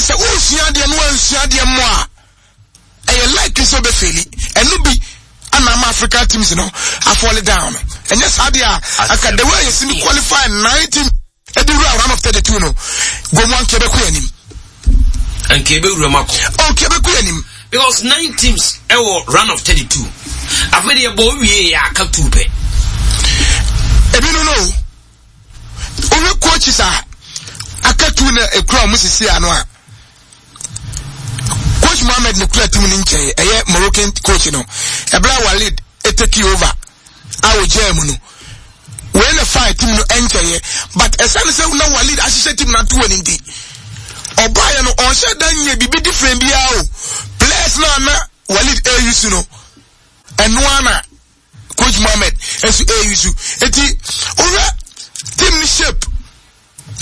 Sɛ wosua adeɛ no wansua adeɛ mmɔ a, ɛyɛ likely sɛ wobɛfeeli. Ɛno bi ana ama African teams no afɔle down no. Ɛnyɛ saa deɛ a, anka the way yɛsi mi qualify nine teams ɛde wura round of 32 no, gomu anka ɛbɛkɔ yɛn anim. Anka ɛbɛwura mu akɔ. Anka ɛbɛkɔ yɛn anim. Because nine teams ɛwɔ round of 32. Afei deɛ bɔ wie yɛ aka two pɛ. Ebi no no. Wohwɛ coaches a aka two na ekura wɔn sisi ano a. Coach Mohamed ne kura team no nkyɛn ɛyɛ Moroccan coach no. Ɛbɛrɛ Walid etake over a ogyaa mu no. Wei na faa team no nkyɛeɛ but ɛsane sɛ na Walid ahyehyɛ team no ato wɔ ne nti ɔbaeɛ no ɔnhyɛ da nyɛ biribi different biara o. Players no a na Walid ɛreyi su no ɛno ara na Coach Mohammed nso ɛreyi su. Eti wohwɛ team no shape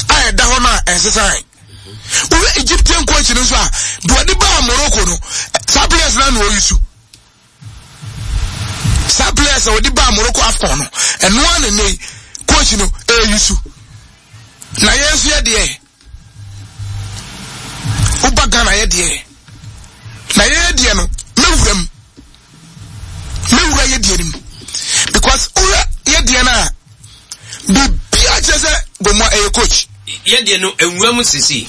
a ɛda hɔ no a ɛnsesan. Wohwɛ Egyptian coach no nso a deɛ ɔde baa Morocco no saa players no na ɔyi su. Saa players a wɔde baa Morocco AFCON no ɛno ara na nnɛ yi coach no ɛreyi su. Na yɛn nso yɛ deɛ woba Ghana yɛ deɛ na yɛyɛ deɛ no mɛwura mu mɛwura yɛ deɛ no mu because wohwɛ yɛ deɛ no a biribiara kyerɛ sɛ Gomoa ɛyɛ coach. Yɛ deɛ no nwura mu sisi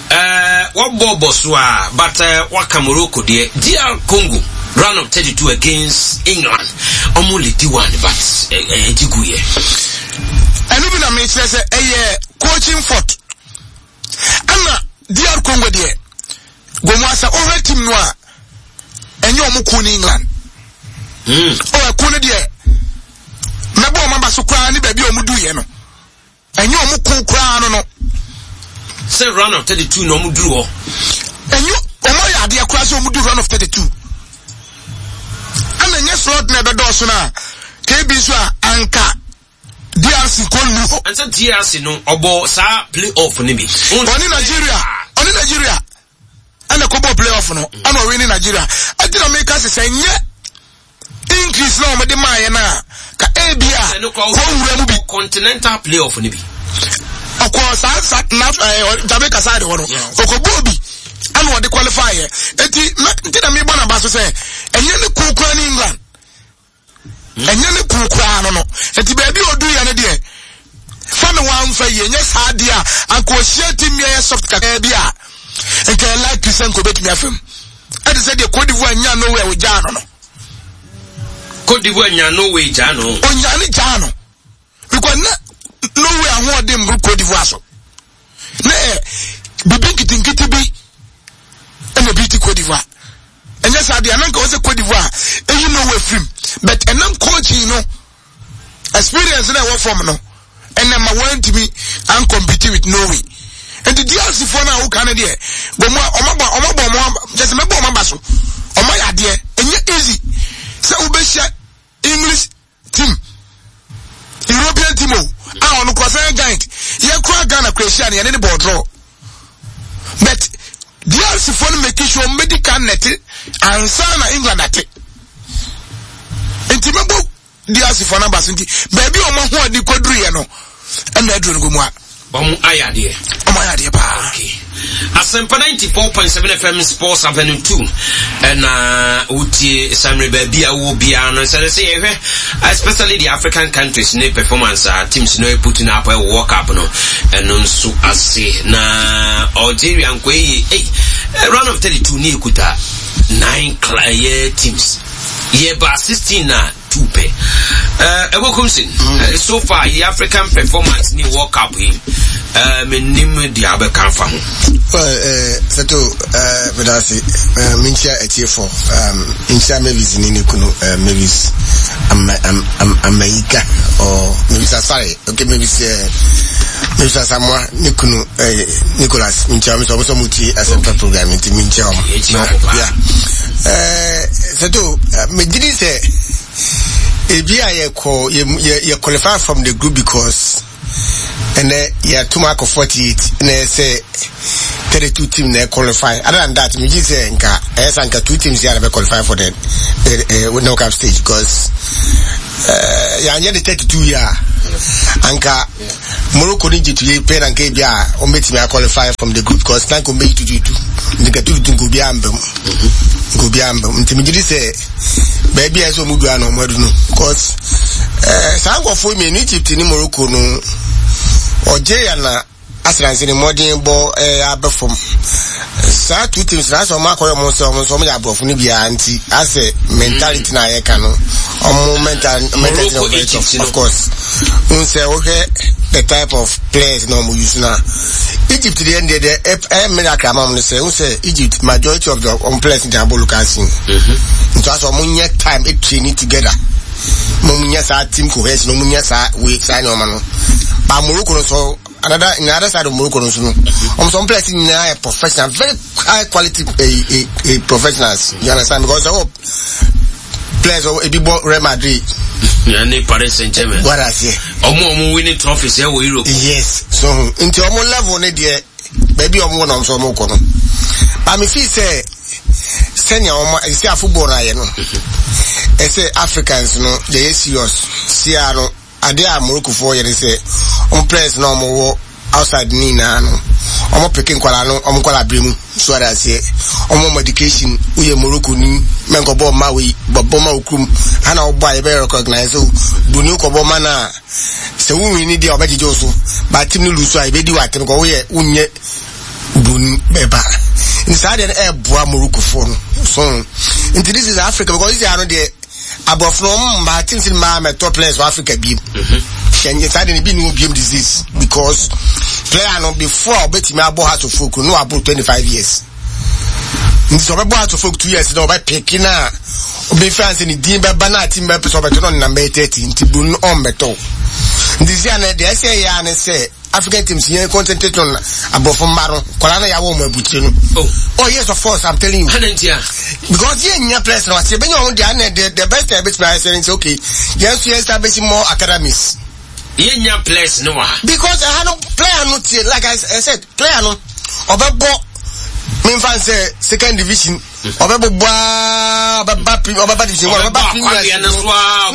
ɛɛ wɔbɔ bɔ so a but ɛɛ waka Morocco deɛ DR Congo round of 32 against England ɔmo leadi one but ɛɛ ɛgye gu yɛ. Ɛno bi na mekyerɛ sɛ ɛyɛ coaching fault ɛna DR Congo deɛ Gomoa sɛ wohwɛ team no a ɛnyɛ ɔmo ko ne England. Ɔ ɛko no deɛ mɛbɔ ɔmo aba so koraa ne baabi a ɔmo duiɛ no. Ɛnyɛ ɔmo ko koraa no no. Sɛ round of 32 na ɔmo duru hɔ. Ɛnyɛ ɔmo ayɛ adeɛ koraa sɛ ɔmo du round of 32. Ɛna ɛnyɛ slot na ɛbɛdɔɔso no a KB nso a anka DRC kɔ nnu hɔ. Ɛnsɛ DRC no ɔbɔ saa play off no bi. Ɔne Nigeria ɔne Nigeria ɛna ɛkɔbɔ play off no ɛna ɔwe ne Nigeria. Ɛti na meka sɛ sɛ ɛnyɛ increase na wɔde maa yɛn a ka ebi a kɔ nwura mu bi. Continental play off no bi. Ɔkɔ saa sa na ɛɛ Jamaica side hɔ no ɔkɔ bɔ obi ɛna ɔde qualify yɛ eti nti na mebɔ n'aba so sɛ ɛnyɛ ne kuo kura ne England. Ɛnyɛ ne kuo koraa no no. Nti baabi a ɔdu yɛ no deɛ, fa ne wamfa yie. Nyɛ saa deɛ a, anka ɔhyia team bi a ɛyɛ soft kakraa bi a, nka ɛyɛ likely sɛ nka ɔbɛtumi afam. Ɛte sɛ deɛ Cote d'Ivoire nya Norway a ɔgyaa no no. Cote d'Ivoire nya Norway gyaa no. Ɔnya ne gyaa no. Because na Norway ahoɔden mboro Cote d'Ivoire so. Na ɛ bibi nketenkete bi ɛna bi ti Cote d'Ivoire. Ɛnyɛ saa deɛ na nka wɔ sɛ Cote d'Ivoire ɛyi Norway firim. But ɛnam coaching no experience na ɛwɔ fam no ɛnna ma wɔntumi ancompete with Norway. Nti DRC foɔ no a woka no deɛ wɔn a wɔn abɔ wɔn abɔ wɔn kyɛ sɛ mɛbɔ wɔn aba so wɔn ayɛ adeɛ ɛnyɛ easy sɛ wobɛhyia English team European team o a ɔno kura sɛ giant yɛ kura Ghana kura ahyia no yɛne ne bɔɔl draw but DRC foɔ no make sure wɔn bɛdi kan nɛte ansa na England ate nti mɛbɔ DRC foɔ no aba so nti baabi a wɔn ahoɔden kɔduru yɛ no ɛna aduro no gu mu a. Wɔn ayɛ adeɛ. Wɔn ayɛ adeɛ paa. Okay. Asɛmpa 94.7 FM Sports Avenue 2 ɛna wotie samre baabi a wowɔ biara no sɛ sɛ yɛhwɛ especially the African countries ne performance a teams no putting up ɛwɔ World Cup no ɛno nso ase na Algeria nkɔ yie ei round of 32 ne ekuta nine ɛyɛ teams yɛba 16 na two pɛ. Eh, Ɛwɔ Kumsin, mm. so far yi African performance ni World Cup yi, eh, menim deɛ abɛka afa ho. Well, eh, Seto, eh, medase, eh, menkyia atiefo, um, nkyia Mavis ne ne kunu, eh, Mavis Amayika, or Mavis Asare, okay, Mavis, eh, Mavis Asamoah, ne kunu, eh, Nicholas, menkyia wɔn sɛ wɔn sɛ wɔn tie Asɛmpa program nti menkyia wɔn. Na, yeah. Eh, Sɛto, megye di sɛ ebi a yɛkɔ yɛ yɛ qualify from the group because ɛnɛ yɛatum akɔ 48 na ɛsɛ 32 team na qualify. Other than that, megye sɛ nka ɛyɛ sɛ nka two teams yɛ na bɛ qualify for the uh, knockout stage because uh, yɛanyɛ de 32 yɛ a anka. Morocco ne Egypt yɛ pɛ na nka ebi a wɔn bɛtumi a qualify from the group because na nka wɔn bɛyi tututu nti nka tututu nka obiara mba mu nka obiara mba mu nti megye di sɛ baabi a ɛsɛ wɔn du ano wɔn adu no because ɛɛ saa nkurɔfoɔ mmienu Egypt ne Morocco no Algeria na Asranse ne mmɔden bɔ ɛɛ aba fam. Saa two teams na asɛ wɔn akɔyɛ wɔn sɛ wɔn nso wɔn yɛ aborɔfo no biara nti asɛ mentality na yɛka no wɔn mental mentality na wɔn tough of course. N sɛ wohwɛ the type of players na wɔn use na Egypt deɛ deɛ deɛ ɛyɛ miracle ama wɔn no sɛ n sɛ Egypt majority of the wɔn players de abɔ local scene. Nti asɛ wɔn nyɛ time training together. Wɔn nyɛ saa team cohesion wɔn nyɛ saa wei saa nneɛma no. But Morocco no so another in the other side of Morocco no so no wɔn sɛ wɔn players nyinaa yɛ professional very high quality eh, eh, eh, professionals you understand because ɛwɔ players wɔ ebi bɔ Real Madrid. ne Paris Saint-Germain. What I say. Ɔmo ɔmo winning trophies ɛwɔ Europe. Yes so nti ɔmo level ne deɛ baabi ɔmo wɔ na ɔmo sɛ ɔmo kɔ no but me feel sɛ sɛnea ɔmo ɛsɛ a football na ayɛ no ɛsɛ Africans no yɛyɛ serious sia no. Adeɛ a Morocco foɔ yɛ ne sɛ wɔn players na wɔn wɔ outside ne nyinaa no wɔn peke nkwadaa no wɔn nkwadaa bere mu so ade aseɛ wɔn wɔn education woyɛ Morocco ni mɛnkɔ bɔɔl ma wei bɔ ma wo kurom ha na wɔbɔ a yɛbɛyɛ recognize so broni kɔ bɔ ma no a sɛ wo win ni deɛ ɔbɛgyegye wo so ba team no lose a yɛbɛdi wɔ atem kɔ woyɛ wonyɛ broni bɛba nti saa deɛ no ɛɛboa Morocco foɔ no so nti this is Africa because this is ano deɛ Aborɔfo no wɔn mmaa teams no mmaa mɛtɔ players wɔ Africa biem. Hyɛ nye saa de no bi ne wɔ biem disease because player no before a ɔbɛtumi abɔ Hearts of Oak no waboro 25 years. Nti sɛ ɔbɛbɔ Hearts of Oak 2 years na ɔbɛpeke no a ɔbɛfi ansa ne din bɛba na team bɛpɛ sɛ ɔbɛtɔ no ɔnenam bɛyɛ 30 nti buru no ɔmmɛtɔ. Nti sɛ ana deɛ ɛsɛ yɛ a ne sɛ African teams yɛn concentrate on aborɔfo mma no kɔla na yɛawɔ wɔn abukyire no. Oh. oh yes of course I'm telling you. Ɛna ntia. Because yɛn nya players na wase ebenya wɔn deɛ ana the best thing ebetumi ayɛ sɛ ne okay yɛn nso yɛn nsa besi more academies. Yɛn nya players no wɔ ha. Because ɛha no player no tie like I said player no ɔbɛbɔ minfa nsɛ second division. Ɔbɛbobɔ aa ɔbɛba pre ɔbɛba division one ɔbɛba premier na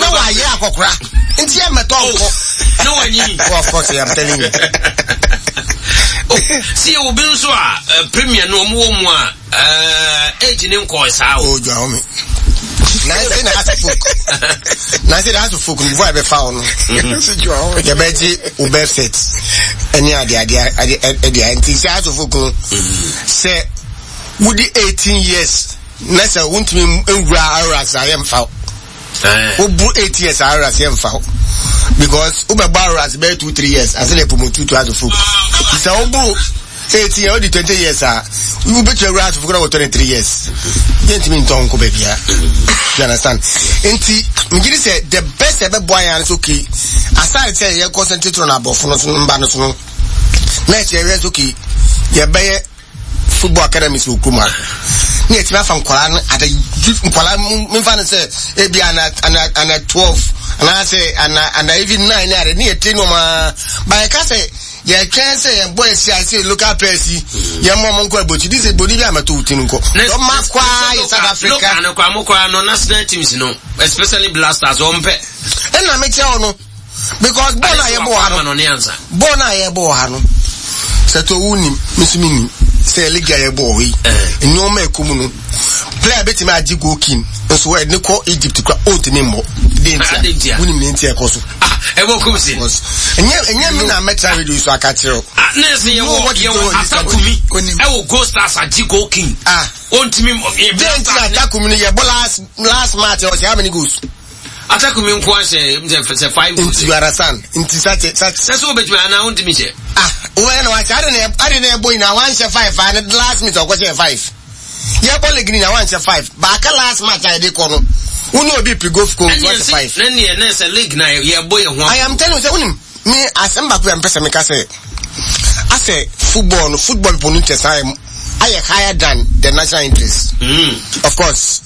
wayɛ akɔkora nti yɛ mɛtɔ oh, nkɔ. Na wanyi. Oh, of course I'm telling you. oh, si obi nso a eh, premier no ɔmo wɔ mu a eh, age ne nkɔɔ saa o. Oh, jɔ ahome. Na ɛsɛ na house folk. Na ɛsɛ na house folk before ɛbɛfa wo no. Yɛbɛgye wo birth cert ɛne ade ade ade ɛde nti sɛ house folk no sɛ. Wodi 18 years na sɛ wontumi nwura Auras a yɛmfa wo. Wobu 8 years a Auras yɛmfa wo. Because wobɛbɔ Auras bɛyɛ 2 3 years ase na promote to Hearts of Oak. Sɛ wobu 18 years wodi 20 years a wobɛtumi awura Hearts of Oak na wɔ 23 years. Yɛntumi ntɔn nkɔ baabiara. You understand? Nti megye di sɛ the best ɛbɛboa yɛn ano sɛ okay aside sɛ yɛ concentrate on aborɔfo no so mba no so no na ɛkyɛ yɛhwɛ sɛ okay yɛbɛyɛ football academies wɔ kurom ha ne yɛtumi afa nkwadaa no ata nkwadaa memfa no sɛ ebi ana ana ana twelve anaasɛ ana ana even nine ne ade ne yɛte nneɛma ba yɛka sɛ yɛtwɛn sɛ yɛn bɔ esi ase local players yi yɛn mɔ ɔmo nkɔ abɔkyi de sɛ boni bi amɛto wo ti no nkɔ ɔma kwaa yɛ South Africa. Local no kwaa mo kwaa no national teams no especially Blasters wɔn pɛ. Ɛna mekyerɛ wo no. because bɔɔl a yɛbɔ wɔ ha no bɔɔl no a yɛbɔ wɔ ha no sɛ to wo nim me nso me nim sɛ league a yɛbɔ wɔ hɔ yi eh. nneɛma ɛkɔ mu no player bɛtumi agye goal king nso ɛde kɔ Egypt kura ɔntumi mmɔ de ntia wonim ne ntia ɛkɔ so ah, ɛwɔ kum si ɛnyɛ ɛnyɛ mi na mɛtra radio so aka kyerɛ o ah, ne sɛ yɛwɔ yɛwɔ atakumi ɛwɔ goal stars agye goal king ah. ɔntumi mmɔ de ntia atakumi no yɛbɔ last last match ɔhyɛ how many goals Atakumi nko ahyɛ sɛ sɛ five goals. Nti you understand? Nti such such. Sɛ so obetumi anaa ontumi hyɛ. Ah, wọ́n na wahyɛ adi na adi na ɛbɔ nyinaa wanhyɛ five ah ne last minute ɔkɔ hyɛ five. Yɛ bɔ league nyinaa wanhyɛ five. Baaka last match a yɛde kɔ no. Wọ́n ní obi pi go go wahyɛ five. Ɛnni ɛnni ɛnna sɛ league na yɛ bɔ yɛ ho. I am telling you sɛ wonim me asɛm baako yɛ mpɛ sɛ meka sɛ asɛ football no football people no interest ayɛ ayɛ higher than the national interest. Mm. Of course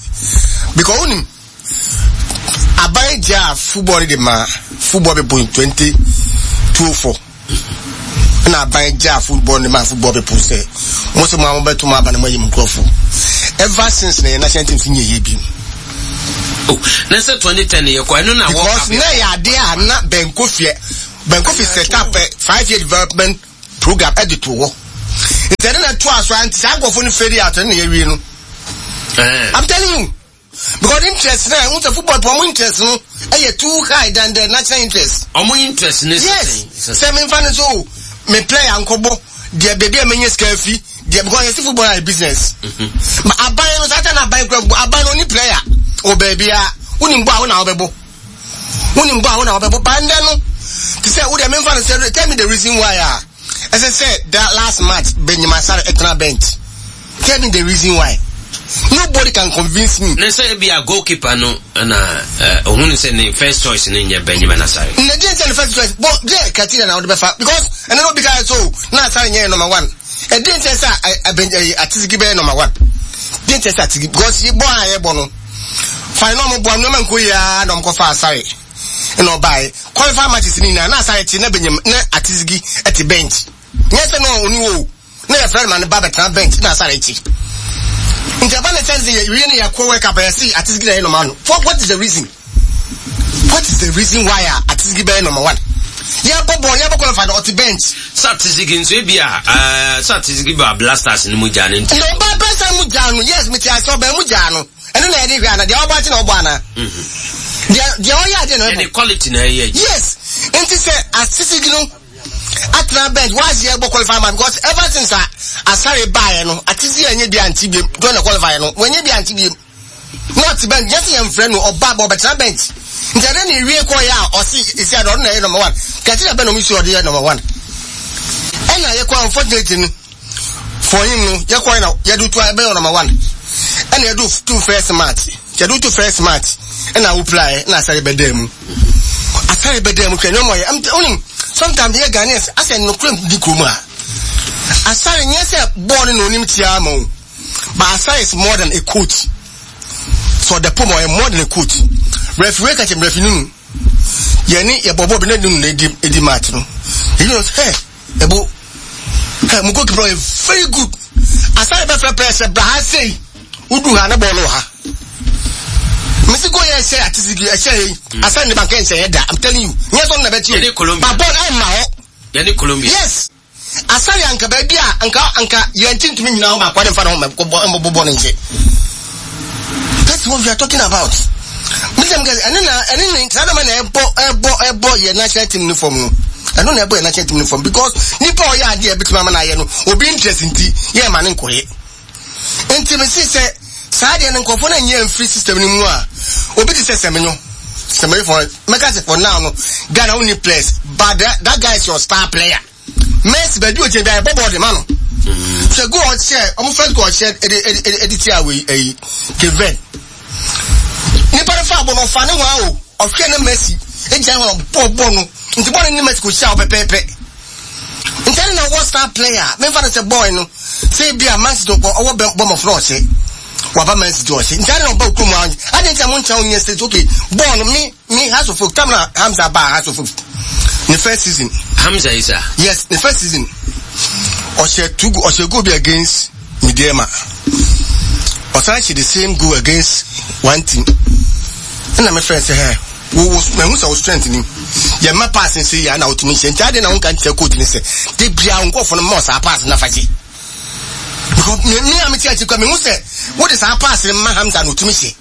because wonim. Aban gyaa football no de maa football people in 2004 ɛna aban gyaa football no de maa football people sɛ mo sɛ mo a mobɛto mo aba na moayi mo nkurɔfo ever since na yɛ national team so nyɛ yie bi. Oh, na sɛ 2010 yɛ kɔ ɛno na because na yɛ adeɛ a na bɛnkɔ fie. Ben Kofi set up a 5-year development program ɛde to hɔ. Nti ɛde na ɛto aso a nti saa nkurɔfoɔ no fade out ɛne na yɛwie no. I'm telling you. Because interest na ɛho sɛ football pɔ ɔmo interest no ɛyɛ too high than the national interest. Ɔmo interest ne yes sɛ mi nfa ne so me player nkɔbɔ deɛ beebi a menya sika afi deɛ because yɛsi football ayɛ business. Mm-hmm. But aban no saa ta na aban kura football aban no oni player wɔ beebi a wonim bɔ a wo na wobɛbɔ wonim bɔ a wo na wobɛbɔ bandɛ no te sɛ wo deɛ mi nfa ne sɛ tell me the reason why a ɛsɛ sɛ that last match Benjamin Asare ɛtena bench. Tell me the reason why. Nobody can convince me. Ne sɛ ebi a goalkeeper no na ohun sɛ ne first choice no nyɛ Benjamin Asare. Na deɛ nti ne first choice bɔ deɛ criteria na wɔde bɛfa because ɛno no obi ka so na Asare nyɛ number one. Ɛdeɛ nti sɛ Atisiki bɛyɛ number one. Deɛ nti sɛ Atisiki because bɔ a yɛbɔ no fine na ɔmo bɔ nneɛma nko yia na ɔmo kɔfa Asare ɛna ɔbaeɛ qualify matches ni nyinaa na Asare te na Benjamin na Atisiki ɛte bench nyɛ sɛ na ɔni wɔ o. na yɛfrɛ no ma no ba bɛtena bench na asare akyi nti ɛba ne sɛn sɛ yɛwie ne yɛkɔ world cup yɛse Atisigi na ɛyɛ number one for what is the reason what is the reason why a Atisigi bɛyɛ number one yɛbɔ bɔɔl yɛbɔ qualify no ɔte bench. Sɛ Atisigi nso ebi a ɛɛ sɛ Atisigi ba Blasters no mu gyaa no nti. Na ɔba Blasters mu gyaa no yes mete ase ɔbɛn mu gyaa no ɛno na yɛde hwɛ ana deɛ ɔbɔ akyi na ɔbɔ ana deɛ deɛ ɔyɛ adeɛ na ɔbɔ. Yɛde quality na ɛyɛ. Yes nti sɛ Atisigi no. atena bench whilst yɛ bɔ qualify match because ever since a Asare baeɛ no Atisi ɛnyɛ bi ante biem during the qualify no wɔnyɛ bi ante biem na ɔte bench yɛsɛ yɛn frɛ no ɔba bɔ ɔbɛtena bench nti ɛdɛ na ewie kɔ yɛ a ɔsi esi adɔ ɔno na ɛyɛ number one kɛse na bɛ na ɔmo si ɔde yɛ number one ɛna yɛ kɔ unfortunately no for him no yɛ kɔ yɛ na yɛde to ɛbɛyɛ number one ɛna yɛde to first match yɛde to first match ɛna awopiraeɛ ɛna Asare bɛdaa mu Asare bɛdaa mu hwɛ nneɛma ɔyɛ ɛm onim sometimes yɛ Ghanaians asɛ nokorɛ di kurom a Asare nyɛ sɛ bɔɔl no na onim tia ama o but Asare is more than a coach so the pom ɔyɛ more than a coach referee kakyɛ referee nunu yɛne yɛbɔ bɔɔl bi na nunu na edi edi match no eyi no sɛ Ebo, hey, mo goalkeeper ɔyɛ very good. Asare bɛfrɛ pɛɛ sɛ bra ha sei. Wodu ha na bɔɔl no wɔ ha. Mesi goal yɛ ɛhyɛ atisigi ɛhyɛ yi. Mm. Asare ne banka nhyɛ yɛ da. I'm telling you. Nyɛ sɛ ɔno na bɛkyi o. Ba bɔɔl ɛmma hɔ. Yɛne Colombia. Yes. Asare anka baabi a anka anka yɛn ti ntumi nyina hɔ baako ade nfa ne ho mɛ bɔ bɔ ne nkyɛn. That's what we are talking about. Mesem kɛ ɛne na ɛne ne saa dɛm na ɛbɔ ɛbɔ ɛbɔ yɛ national team no fam no. Ɛno na ɛbɔ yɛ national team no fam because nipa ɔyɛ adeɛ ɛbɛtumi ama no ayɛ no obi interest nti yɛ ɛma ne nkɔyɛ. Nti me si sɛ saa deɛ no nkurɔfoɔ no nyɛ mfiri system no mu a obi te sɛ Semenyo Semenyo for mɛka sɛ for now no Ghana wonni players but that, that guy is your star player. Messi baabi ogyina bi a yɛbɔ bɔɔl de ma no. Sɛ goal ɔhyɛ ɔmo first goal ɔhyɛ ɛde ɛde ɛde tia wei ɛyi Cape Verde. Nipa no fa bɔ no ɔfa ne ho awo ɔhwɛ ne Messi egyina hɔ ɔbɔ bɔ no nti bɔɔl no ne Messi kò hyia ɔpɛpɛɛpɛ. Nti ɛne na ɔwɔ star player memfa no sɛ boy no sɛ ebi a Man City ɔkɔ ɔwɔ Bournemouth na ɔhyɛ waba Man City ɔhyɛ nti ɛne na ɔba okurom a adi nti a mo nkyɛn onyɛ state okay bɔɔl no me Me Hearts of Oak, time na Hamza baa Hearts of Oak, ne first season. Hamza Isa. Yes, ne first season. Ɔhyɛ two goal, ɔhyɛ goal bi against Mideama. Ɔsan hyɛ the same goal against one team. Ɛna me friend sɛ, hɛ, wo wo mahu sɛ wo strength ni. Yɛ mma pass nse yɛ na wotumi hyɛ. Nti ade na wonka nkyerɛ coach ne sɛ, de bia wo nkurɔfoɔ no mma saa pass na fa gye. Because me me a mete akyi kura mehu sɛ wode saa pass no ma Hamza na otumi hyɛ.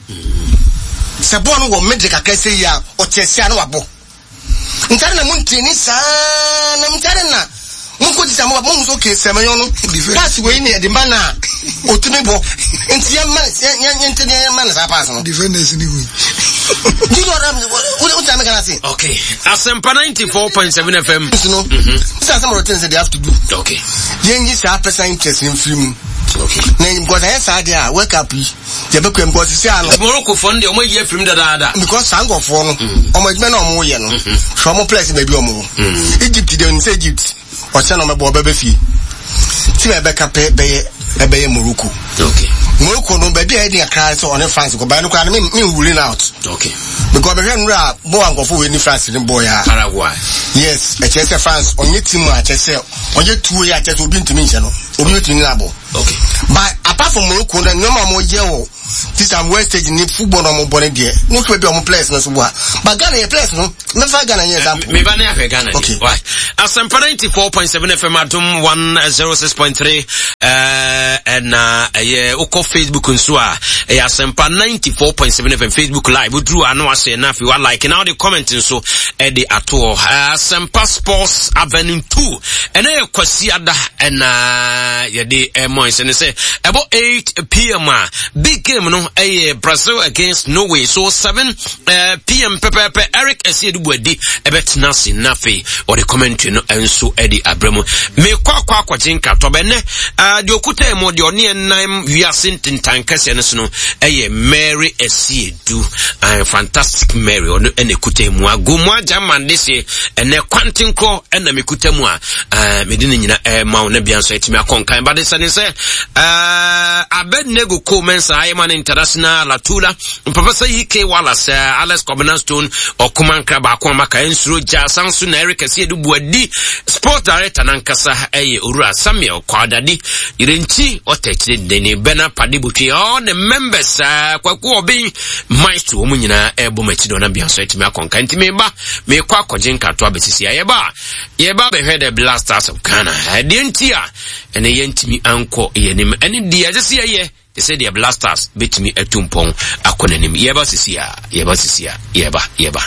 Sɛ bɔɔl no wɔ middle kakra sɛ yi a ɔte ase a na wabɔ. Ntare na mo ntreni saa na ntare na mo nkɔ ti sɛ mo mo hu sɛ okay sɛ mɛyɔ no pass wei ne yɛde ma no a otumi bɔ nti yɛn ma yɛn yɛn yɛn ntɛni yɛn ma no saa pass no. Defenders ni hui. Do you know what I'm what what I'm gonna say? Okay. Asempa 94.7 FM. No. Mm-hmm. This is some of the things that they have to do. Okay. Yɛnyi saa personal interest no mfiri mu. Okay. Na because ɛyɛ saa deɛ a World Cup yi yɛbɛkɔ mu because sisi ano. Morocco fɔ no deɛ wɔn ayi afiri mu dadaada. Because saa nkurɔfoɔ no mm. wɔn adwuma na wɔn yɛ no mm-hmm. hwɛ wɔn players baabi wɔn wɔ. Mm. Egypt deɛ onim sɛ Egypt ɔkyɛ na ɔmɛbɔ ɔbɛbɛ fie. Ti na ɛbɛka pɛ bɛyɛ ɛbɛyɛ Morocco. Okay. Morocco no baabi a yɛ den kakra sɛ ɔne France kɔ bɛn no koraa no me me ruling out. Okay. Because bɛhwɛ nnura a bɔɔl a nkurɔfoɔ wei ne France ne bɔɔl ya. Paraguay. Yes, ɛkyerɛ sɛ France ɔnyɛ team a kyerɛ sɛ ɔyɛ tuo yɛ akyerɛ sɛ obi ntumi nhyɛ no. Obi betumi ne abɔ. Okay. But apart from Morocco na nneɛma a wɔyɛ wɔ This time world stage ni football na ɔmo bɔ ne deɛ. Ne nso baabi a ɔmo players no so bɔ a. But Ghana yɛ players no. Mɛfa Ghana nyɛ example. Me ba ne ahwɛ Ghana. Okay. Why? Asɛmpa 94.7 FM Adom 106.3 ɛna ɛyɛ wokɔ Facebook nso a ɛyɛ Asɛmpa 94.7 FM Facebook live woduru ano ahyɛ na afei wa like na wode comment nso ɛde atoɔ Asɛmpa Sports Avenue 2 ɛna yɛ Kwasiada ɛna yɛde ɛmɔ nsɛ ne sɛ ɛbɔ 8 pm a big game no ɛyɛ Brazil against Norway so 7 eh, pm pɛpɛɛpɛ Eric Asiedu Boadi ɛbɛtena ase na afei ɔde commentary no nso ɛde abrɛ mu mekɔ akɔ akɔgye nkratɔ bɛnɛ eh, deɛ ɔkuta mu deɛ ɔne ɛnam wiase ntentan kɛseɛ no so no ɛyɛ Mary Asiedu eh, fantastic Mary ɔno ɛna ɛkuta mu agomu agya mande se ɛnɛ kwantenkorɔ ɛna mekuta mu a eh, mede ne nyina ɛma wo na bia nso atumi akɔ nkan bade sɛ ne sɛ eh, Abednego Ko Mensah ayɛma no international Latula Papa sɛ EK Wallace, eh, Alex Kwabena Stone, Ɔkomankra baako a maka nsuro gya san so na Eric Asiedu Buadi, Sport Director nankasa ɛyɛ Owura Samuel Kwadade, Yerenkyi Ɔtɛkyerɛ Dene, Bernard Pade Botwe, all the members, eh, Kwaku Ɔben, Maestro, wɔn nyinaa ɛrebɔ m'akyi dɔn na bia nso atumi akɔnka. Nti meba, mekɔ akɔgye nkratoa bɛsisi a yɛba a, yɛba bɛhwɛ the Black Stars of Ghana. Ɛdeɛ nti a ɛnɛ yɛntumi ankɔ yɛn anim, ɛne deɛ ɛsɛ sɛ yɛyɛ Te sɛ deɛ Blasters bɛtumi atu mpɔn akɔ n'anim. Yɛreba sisi a, yɛreba sisi a, yɛreba, yɛreba.